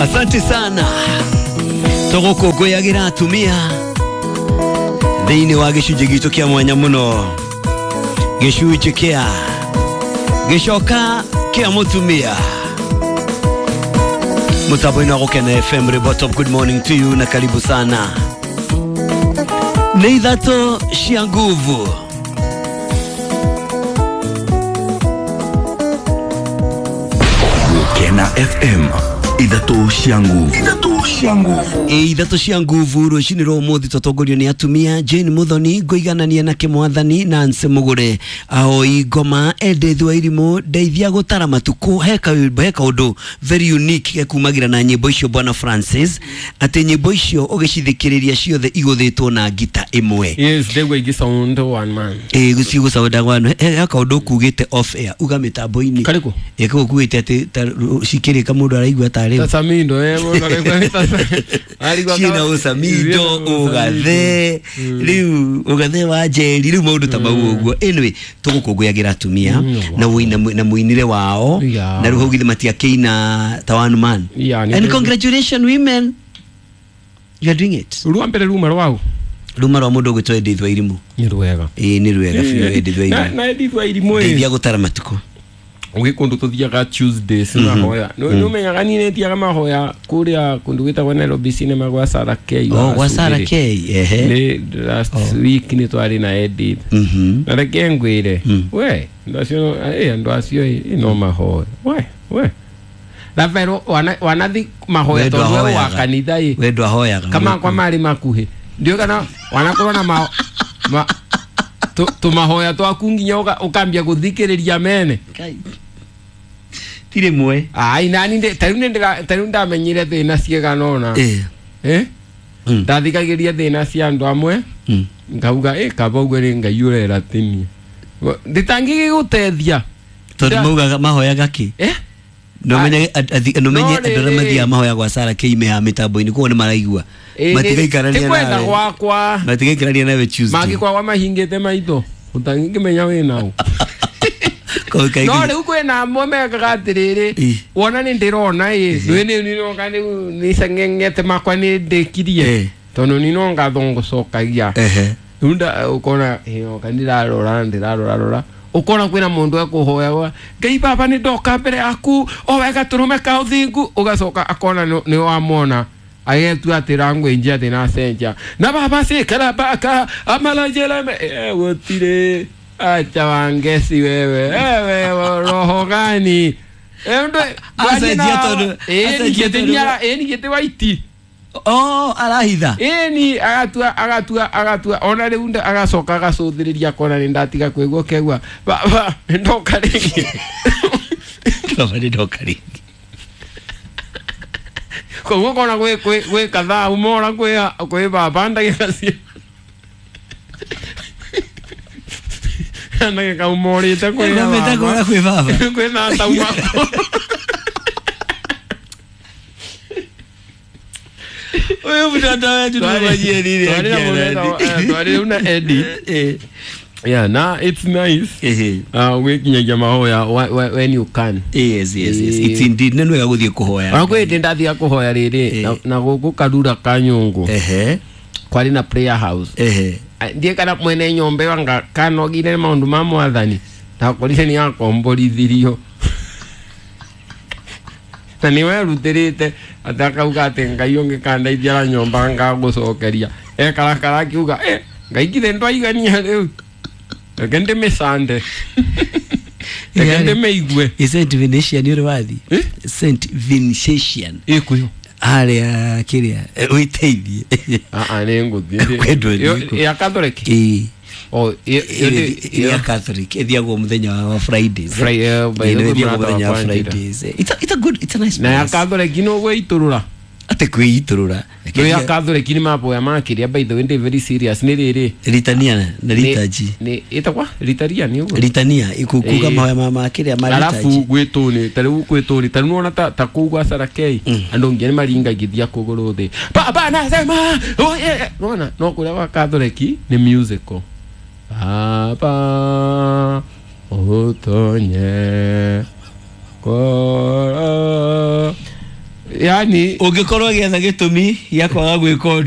Asante sana tũgũkũngũyagĩra atumia thĩinĩ wa gĩcunjĩ gitũ kĩa mwanya mũno, gĩcunjĩ kĩa gĩcoka kĩa mũtumia mũtambo-inĩ wa Gũkena FM. Ribotop, good morning to you na karibu sana. Nĩ ithatũ cia nguvu. Gũkena FM, ithatũ cia nguvu, ithatũ cia nguvu. Ithatũ cia nguvu rũcinĩ rwa ũmũthĩ tũtongorio nĩ atumia Jane Muthoni ngũiganania na kĩmwathani Nancy Mugure ahoi ngoma Edith wa Irimũ ndeithia gũtara matukũ. He kaũndũ very unique gekumagira na nyĩmbo icio bwana Francis, atĩ nyĩmbo icio ũgĩcithikĩrĩria ciothe igũthĩtwo na ngita ĩmwe. Yes, they were just sound one man. Gũcigũcaũnda gwanũ. He kaũndũ ũkugĩte off air uga mĩtambo-inĩ. Karĩkũ? Kau ũkugĩte atĩ cikĩrĩka mũndũ araigua tarĩ Tasamindo, ciĩna ũcamindo ũgathe rĩu ũgathe wa njeri rĩu maũndũ ta mau ũguo. Anyway, tũgũkũngũyagĩra atumia na na mũinĩre wao na rĩu hau githĩ matiakĩina ta one man. And congratulations women, you are doing it. Rwa mbere ruma rwau ruma rwa mũndũ ũgwĩtwo Edith wa Irimũ. Nĩ rwega. Ĩĩ nĩ rwega biũ Edith wa Irimũ. Na Edith wa Irimũ ndeithia gũtara matukũ. Gwĩ kũndũ tũthiaga Tuesdays mahoya. Nĩ ũmenyaga niĩ nĩthiaga mahoya kũrĩa kũndũ gwĩtagwo Nairobi Cinema gwa Sarah K. Oh, gwa Sarah K. Ehe. Nĩ last week nĩ twarĩ na Edith. Na reke ngwĩre, we andũ acio andũ acio no mahoya. We Rafael wanathi mahoya tondũ we wa kanitha ĩ. We ndwahoyaga. Kama kwa marĩ makuhĩ. Ndiũĩ kana wanakorwo na tũmahoya twaku nginya ũkambia gũthikĩrĩria mene. Ti rĩmwe. Ai nani tarĩu ndamenyire thĩna ciigana ũna. Ndathikagĩria thĩna cia andũ amwe ngauga kaba ũguo nĩ Ngai ũrera tinie. Nditangĩgĩgũteithia. Tondũ maugaga mahoyaga kĩ? Nũmenye andũ arĩa mathiaga mahoya gwa Sarah K me haha mĩtambo-inĩ koguo nĩ maraigua. Matigaikarania nawe. Ti kwenda gwakwa. Matigaikarania nawe Tuesday. Mangĩkoragwo mahingĩte maitho ũtangĩkĩmenya wĩna ũ. No rĩu kwĩna amwe mekaga atĩrĩrĩ, wona nĩ ndĩrona ĩ nĩ nĩnoka rĩu nĩceng'eng'ete makwa nĩ ndĩkirie tondũ nĩ no ngatho ngũcokagia. Rĩu ũkona oka ndĩrarora ndĩrarora ũkona kwĩna mũndũ ekũhoya Ngai baba nĩ ndoka mbere yaku o wega tũrũme ka ũthingu, ũgacoka akona nĩ wamwona agetua atĩ rangwĩnjia atĩ nacenjia na baba cikara baka amalajela gũtirĩ. Acha wangesi wewe wewe roho gani acenjia tondũ ĩni gĩtĩ waiti. Oh, arahitha. Ĩni agatua ona rĩu agacoka agacũthĩrĩria akona nĩ ndatiga kwĩgua kegua baba ndoka rĩngĩ. Baba nĩ ndoka rĩngĩ. Koguo ũkona gwĩ kathaa umora kwĩ baba ndagĩka cia ndagĩka umorĩte kwĩ baba kwĩ baba kwĩ tata umako. Ũyũ mũtata wetu nĩwamanyie twarĩ na Edith. Yeah, na it's nice. Gwĩkinyagia mahoya when you can. Yes, yes, yes. It's indeed nĩ wega gũthiĩ kũhoya. Ona kwĩ hĩndĩ ndathiaga kũhoya rĩrĩ na gũkũ Karura Kanyũngũ. Kwarĩ na prayer house. Ndiĩ kana mwene nyũmba ĩyo anga kanogire maũndũ ma mwathani ndakorire nĩ akomborithirio. Na nĩ werutĩrĩte atĩ akauga atĩ Ngai ũngĩkandeithia na nyũmba ngagũcokeria. Ekarakara akiuga Ngai githĩ ndwaigania rĩu. Reke ndĩmĩcande. Reke ndĩmĩigue. Ĩ Saint Venetian ũrĩ wathiĩ? Saint Vincentian. Ĩkũyũ. Harĩa kĩrĩa wĩteithie. Nĩ ngũthiĩ. Ya Catholic? Ĩĩ. Oh, ya Catholic ĩthiagwo mũthenya wa Fridays. Ĩthiagwo mũthenya wa Fridays. It's a good, it's a nice place. Na ya Catholic no gwĩitũrũra. Atĩ kwĩitũrũra. No ya Catholic nĩ maboya makĩria, by the way ndĩ very serious nĩ rĩrĩ. Litania na liturgy. Nĩ ĩtagwa litaria nĩ ũguo. Litania ikukuga mahoya ma makĩria ma liturgy. Alafu gwĩtũ ta rĩu gwĩtũ ta rĩu nĩwona ta kũu gwa Sarah K andũ nginya nĩ maringagithia kũgũrũ thĩ. Baba nasema nĩwona no kũrĩa gwa Catholic nĩ musical. Baba ũtonye kora. Yani Ũngĩkorwo ũgĩetha gĩtũmi gĩa kwaga gwĩka ũndũ.